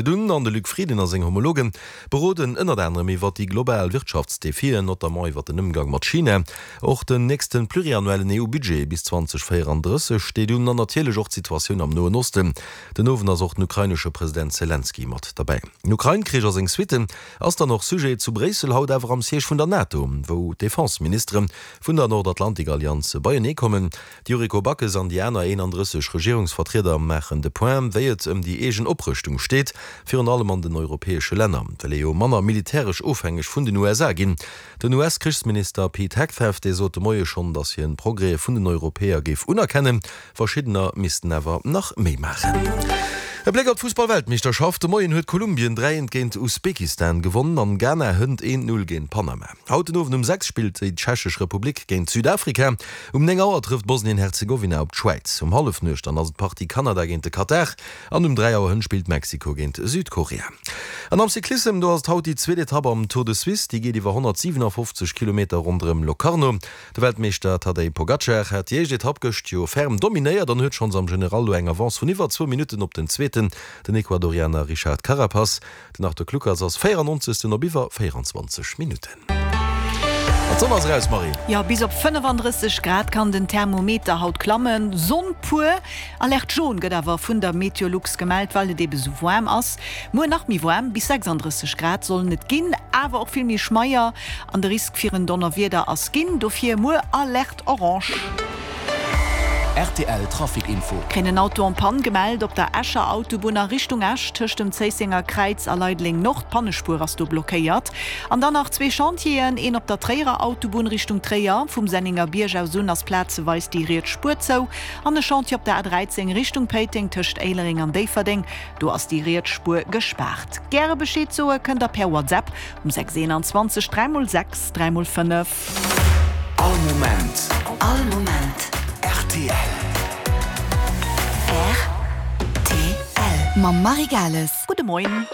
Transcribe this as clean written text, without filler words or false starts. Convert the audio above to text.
Dunn an de Luc Frieden a seng Homologe beroden ënnert anerem iwwer déi global Wirtschaftsdefien, notamment iwwer den Ëmgang mat China. Och den nächste pluriannuellen EU-Budget bis 2034 steet un an natierlech och d'Situatioun am Noen Osten. Den Owend ass och den ukrainesche President Selenskyj mat derbäi. Den Ukrain-Krich a seng Suitten ass dann och Sujet zu Bréissel, haut awer am Siège vun der NATO, wou d'Defense-Ministere vun der Nordatlantik-Allianz beienee kommen. D'Yuriko Backes an déi aner 31 Regierungsvertrieder maachen de Point, wéi et ëm déi eegen Oprëschtung steet, virun allem an den europäesche Länner wëll ee jo manner militäresch ofhängeg vun den USA ginn. Den US-Krichsminister Pete Hegseth, dee sot de Moie schonn, datt hien d'Progrèse vun den Europäer géif unerkennen, verschiddener missten awer nach méi maachen. E Bléck op d'Fussballweltmeeschterschaft, De Moien huet Kolumbien 3 eent géint Usbekistan gewonnen an Ghana hënt 1, 0 géint Panama. Haut den Owend um 6 spillt déi Tschechesch Republik géint Südafrika. Um 9 Auer trëfft Bosnien-Herzegowina op d'Schwäiz. Um Hallefnuecht dann ass et d'Partie Kanada géint de Katar an um 3 Auer hënt spillt Mexiko géint Südkorea. An am Cyclissem, do ass et haut déi zweet Etapp am Tour de Suisse. Déi geet iwwer 157 Kilometer ronderëm Locarno. De Weltmeeschter Tadej Pogacar hat déi éischt Etapp gëscht jo ferm dominéiert an huet schonns am General lo eng Avance vun iwwer zwou Minutten op den Zweeten, den Ecuadorianer Richard Carapaz. Den Arthur Kluckers ass 94. Op iwwer 24 Minutten. An d'Sonn ass eraus, Marie! Jo, bis op 35 Grad kann den Thermometer haut klammen. Sonn pur. Alerte jaune gëtt awer vun der Meteolux gemellt, well et ebe sou waarm ass. Muer nach méi waarm, bis 36 Grad sollen et ginn, awer och vill méi schmeier an de Risk fir en Donnerwieder ass ginn. Dofir muer Alerte orange. Rtl Trafic Info. Kréien en Auto en panne gemellt op der Escher Autobunn a Richtung Esch tëscht dem Zéissenger Kräiz a Leideleng Nord. D'Pannespuer ass do blockéiert. An dann nach zwee Chantieren, een op der Tréierer Autobunn Richtung Tréier, vum Sennenger Bierg aus un ass plazeweis déi riets Spuer zou. An e Chantier op der A13 Richtung Péiteng tëscht Éilereng an Déifferdeng, do ass déi riets Spuer gespaart. Gäre Bescheed soe kënnt der per WhatsApp um 6 21 3 x 6 3 x 5. All Moment. All Moment. Rtl. Rtl. Mam Marie Gales. Gudde Moien.